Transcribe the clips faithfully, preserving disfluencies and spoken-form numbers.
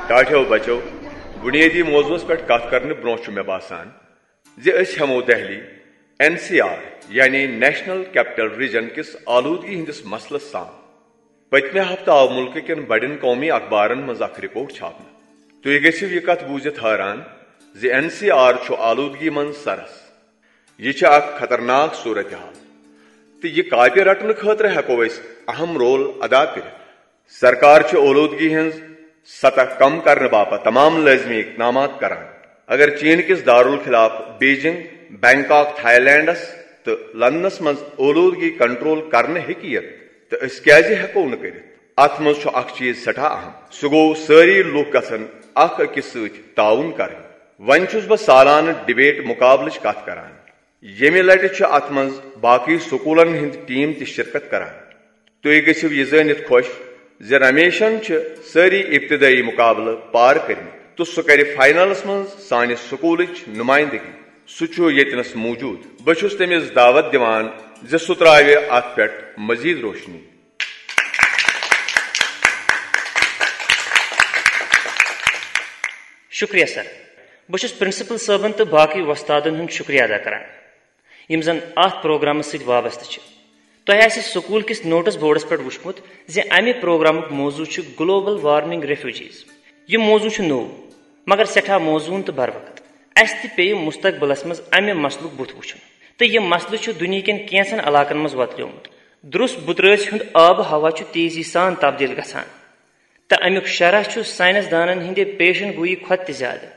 ٹاٹھیو بچو، بنیٲدی موضوعس پٮ۪ٹھ کتھ کرنہٕ برونٛہہ چھُ مےٚ باسان زِ أسۍ ہٮ۪مو دہلی، این سی آر، یعنی نیشنل کیپٹل ریجن کِس آلودگی ہٕنٛدِس مسلس سان۔ پٔتمہِ ہفتہٕ آو مُلکہٕ کٮ۪ن بڑٮ۪ن قومی اخبارن منٛز اکھ رپورٹ چھاپنہٕ۔ تُہۍ گٔژھِو یہِ کتھ بوٗزِتھ حٲران زِ این سی آر چھُ آلودگی منٛز سرس۔ یہِ چھِ اکھ خطرناک صورتحال، تہٕ یہِ کاپہِ رٹنہٕ خٲطرٕ ہٮ۪کو أسۍ اہم رول ادا کٔرِتھ۔ سرکار چھِ اولودگی ہٕنٛز سطح کم کرنہٕ باپتھ تمام لٲزمی اقدامات کران۔ اگر چین کِس دارالخلاف بیجنگ، بینکاک، تھائی لینڈس تہٕ لندنس منٛز اولودگی کنٹرول کرنہٕ ہیٚکہِ یِتھ، تہٕ أسۍ کیازِ ہٮ۪کو نہٕ کٔرِتھ؟ اتھ منٛز چھُ اکھ چیز سٮ۪ٹھاہ اہم، سُہ گوٚو سٲری لوٗکھ گژھن اکھ أکِس سۭتۍ تعاون کرٕنۍ۔ وۄنۍ چھُس بہٕ سالانہٕ ڈبیٹ مقابلٕچ کتھ کران۔ ییٚمہِ لٹہِ چھِ اتھ منٛز باقی سکوٗلن ہٕنٛدۍ ٹیم تہِ شرکت کران۔ تُہۍ گٔژھِو یہِ زٲنِتھ خۄش زِ رمیشن چھِ سٲری ابتدٲیی مقابلہٕ پار کٔرمٕتۍ تہٕ سُہ کرِ فائنلس منٛز سانہِ سکوٗلٕچ نمائندگی۔ سُہ چھُ ییٚتنس موجود۔ بہٕ چھُس تٔمِس دعوت دِوان زِ سُہ ترٛاوِ اتھ پٮ۪ٹھ مزید روشنی۔ شکریہ سر۔ بہٕ چھُس پرنسپل صٲبن تہٕ باقٕے وۄستادن ہُنٛد شکریہ ادا کران، یِم زن اتھ پروگرامس سۭتۍ وابستہٕ چھِ۔ تۄہہِ آسہِ سکوٗل کِس نوٹس بورڈس پٮ۪ٹھ وُچھمُت زِ امہِ پروگرامُک موضوع چھُ گلوبل وارمنگ ریفیوجیز۔ یہِ موضوع چھُ نوٚو، مگر سٮ۪ٹھاہ موزوٗن تہٕ بروقت۔ اسہِ تہِ پیٚیہِ مستقبلس منٛز امہِ مسلُک بُتھ وُچھُن، تہٕ یہِ مسلہٕ چھُ دُنیا کٮ۪ن کینٛژن علاقن منٛز وۄتلیومُت۔ درُس بُترٲژ ہُنٛد آب و ہوا چھُ تیزی سان تبدیل گژھان، تہٕ امیُک شرح چھُ سائنس دانن ہٕنٛدِ پیشن گویی کھۄتہٕ تہِ زیادٕ۔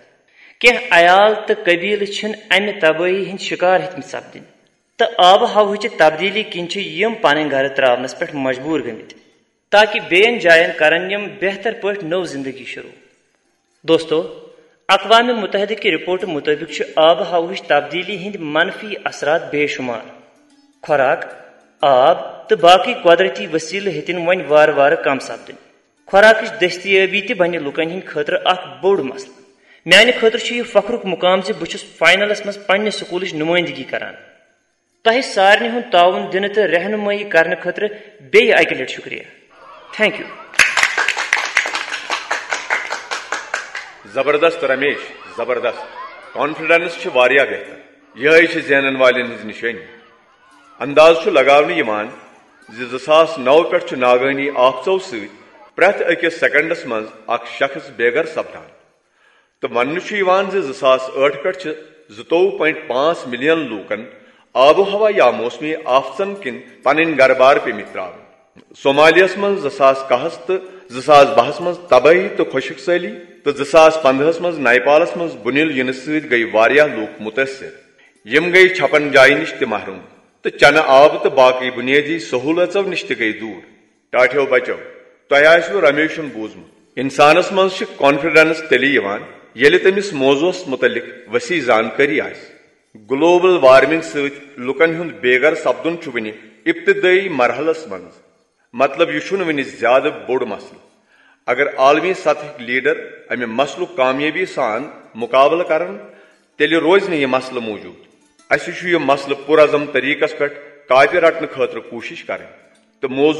کینٛہہ عیال تہٕ قبیلہٕ چھِنہٕ امہِ تبٲہی ہٕنٛدۍ شکار ہیٚتمٕتۍ سپدٕنۍ، تہٕ آب و ہوہٕچہِ تبدیلی کِنۍ چھِ یِم پنٕنۍ گرٕ ترٛاونس پٮ۪ٹھ مجبوٗر گٔمٕتۍ، تاکہ بیٚین جاین کرن یِم بہتر پٲٹھۍ نٔو زندگی شروع۔ دوستو، اقوام متحدہ کہِ رپورٹہٕ مُطٲبِق چھِ آب و ہوہٕچ تبدیلی ہٕنٛدۍ منفی اثرات بے شمار۔ خوراک، آب تہٕ باقٕے قۄدرتی وسیلہٕ ہیٚتن وۄنۍ وارٕ وارٕ کم سپدٕنۍ۔ خوراکٕچ دٔستیٲبی تہِ بنہِ لوٗکن ہٕنٛدِ خٲطرٕ اکھ بوٚڑ مسلہٕ۔ میانہِ خٲطرٕ چھُ یہِ فخرُک مقام زِ بہٕ چھُس فائنلس منٛز پننہِ سکوٗلٕچ نمٲیندگی کران۔ تۄہہِ سارنٕے ہُنٛد تعاوُن دِنہٕ تہٕ رہنمٲیی کرنہٕ خٲطرٕ بیٚیہِ اکہِ لٹہِ شکریہ۔ Thank U. زبردست رمیش، زبردست۔ کانفیڈنس چھِ واریاہ بہتر۔ یِہے چھِ زینن والٮ۪ن ہٕنٛز نشٲنی۔ انداز چھُ لگاونہٕ یِوان زِ زٕ ساس نو پٮ۪ٹھ چھُ ناگٲنی آفژو سۭتۍ پرٛٮ۪تھ أکِس سیکنڈس منٛز اکھ شخص بے گھر سپدان۔ تہٕ وننہٕ چھُ یِوان زِ زٕ ساس ٲٹھ پٮ۪ٹھ چھِ زٕتووُہ پوینٹ پانٛژھ ملین لوٗکن آب و ہوا یا موسمی آفژن کِنۍ پنٕنۍ گرٕ بار پیٚمٕتۍ ترٛاونہٕ۔ صومالیاہس منٛز زٕ ساس کاہس تہٕ زٕ ساس بہس منٛز تبٲہی تہٕ خۄشک سٲلی، تہٕ زٕ ساس پندہس منٛز نیپالس منٛز بُنِل یِنہٕ سۭتۍ گٔیہِ واریاہ لوٗکھ مُتٲثِر۔ یِم گٔیہِ چھپن جایہِ نِش تہِ محروم تہٕ چنہٕ آبہٕ تہٕ باقٕے بُنیٲدی سہوٗلژو نِش تہِ گٔیہِ دوٗر۔ ٹاٹھیو بچو، تۄہہِ آسِوٕ رمیشُن بوٗزمُت۔ انسانس منٛز چھِ کانفیڈنس تیٚلہِ یِوان، ییٚلہِ تٔمِس موضوعس مُتعلق وسیع زانکٲری آسہِ۔ گلوبل وارمنگ سۭتۍ لوٗکن ہُنٛد بے گھر سپدُن چھُ وُنہِ ابتدٲیی مرحلس منٛز۔ مطلب، یہِ چھُنہٕ وُنہِ زیادٕ بوٚڑ مسلہٕ۔ اگر عالمی سطحٕکۍ لیڈر امہِ مسلُک کامیٲبی سان مقابلہٕ کرن، تیٚلہِ روزِ نہٕ یہِ مسلہٕ موجود۔ اسہِ چھُ یہِ مسلہٕ پُرعزم طریقس پٮ۪ٹھ کاپہِ رٹنہٕ خٲطرٕ کوٗشش کرٕنۍ تہٕ موضوع